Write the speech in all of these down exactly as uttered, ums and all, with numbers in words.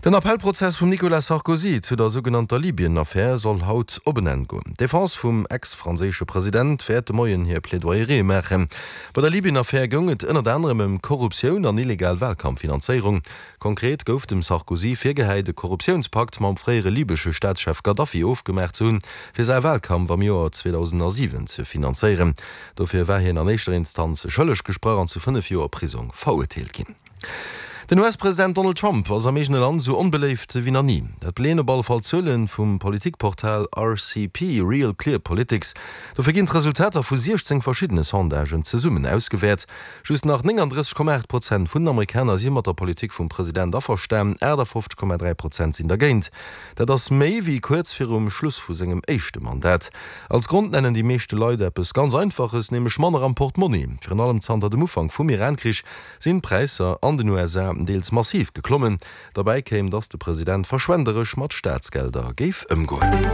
Den Appellprozess vum Nicolas Sarkozy zu der sougenannter Libyen-Affär soll haut op en Enn goen. D'Defense vum Ex-franséische President wäert de Moien hir Plaidoyerië maachen. Bei der Libyen-Affär goung et ënnert anerem ëm Korruptioun an illegal Walkampffinanzéierung. Konkret gouf dem Sarkozy virgehäit, e Korruptiounspakt mam fréiere libesche Staatschef Gaddafi ofgemaach ze hunn, fir säi Walkampf am Joer zweedausendasiwen ze finanzéieren. Dofir war hien an éischter Instanz schëlleg gesprach an zu fënnef Joer Prisong verurteelt ginn. Den U S-President Donald Trump ass am eegene Land esou onbeléift wéi nach ni. Dat beleeën op alle Fall Zuele vum Politikportal R C P, Real Clear Politics. Dofir ginn d'Resultater vu siechzéng verschiddene Sondagen zesummen ausgewäert. Just nach nénganddrësseg Komma aacht Prozent vun den Amerikaner si mat der Politik vum President averstan, aachtafoffzeg Komma dräi Prozent sinn dergéint. Dat ass méi wéi kuerz virum Schluss vu sengem éischte Mandat. Als Grond nennen déi meeschte Leit eppes ganz Einfaches, nämlech manner am Portmonni. Virun allem zanter dem Ufank vum Iran-Krich sinn d'Präisser an den U S A deels massiv geklommen. Derbäi kéim, datt de President verschwenderesch mat Staatsgelder géif ëmgoen.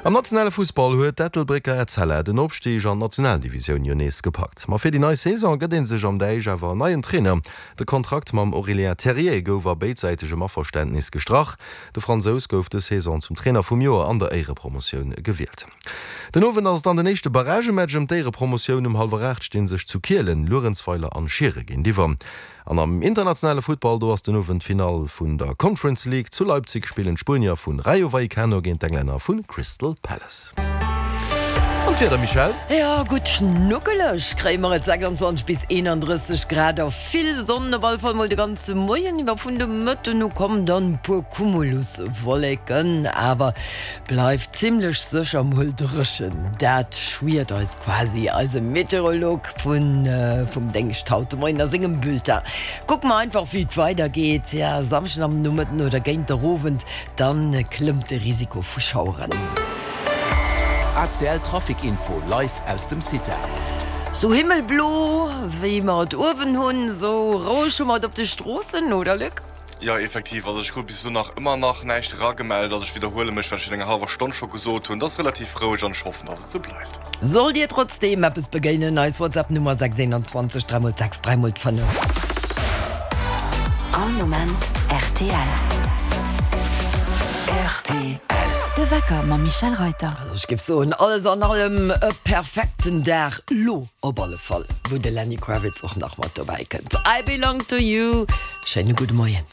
Am nationale Fussball huet d'Ettelbrécker Etzella den Opstig an d'Nationaldivisioun jo nees gepackt. Ma fir déi nei Saison gëtt ee sech am Deich awer en neien Trainer. De Kontrakt mam Aurélien Terrier gouf a béidsäitegem Averständnis gestrach. De Fransous gouf dës Saison zum Trainer vum Joer an der Éierepromotioun gewielt. Den Owend ass et dann den éischte Barragematch ëm d'Éierepromotioun. Um hallwer aacht sti sech zu Kielen Luerenzweiler an Schiere géintiwwer. An am internationale Futtball, do ass den Owend d'Finall vun der Conference League. Zu Leipzig spillen d'Spuenier vu Rayo Vallecano géint d'Englänner vu Crystal Palace. An d'Wieder, Michèle? Jo, gutt schnuckeleg kréie mer et, sechsanzwanzeg bis eenandrësseg Grad a vill Sonn op alle Fall mol de ganze Moien iwwer. Vun de Mëtten u kommen dann e puer Cumuluswolleken, awer bleift zimmlech sécher mol dréchen. Dat schwiert eis quasi eise Meteorolog vun vum Déngscht haut de Moien a sengem Bulletin. Kucke mer einfach wéi et weidergeet. Ja, Samschden am Nomëtten oder géint der Owend, dann klëmmt de Risiko vu Schaueren. A C L Trafic Info live aus dem CITA. Sou himmelblo wéi mer et uewen hunn, sou roueg hu mer et op de Stroossen, oder Luc? Jo, effektiv, also ech krut bis elo nach ëmmer nach näischt eragemellt. Also ech widderhuele mech, wat ech virun enger hallwer Stonn scho gesot hunn, et ass relativ roueg an ech hoffen, dass et sou bleift. Sollt dir trotzdeem eppes begéinen, eis WhatsApp Nummer sechs einundzwanzeg dräi mol sechs dräi mol fënnef. All Moment R T L. R T L. De Wecker mam Michèle Reyter. Also ech géif soen, alles an allem e perfekten Dag lo op alle Fall, wou de Lenny Kravitz och nach mat dobäi kënnt. I Belong to You. Schéine gudde Moien.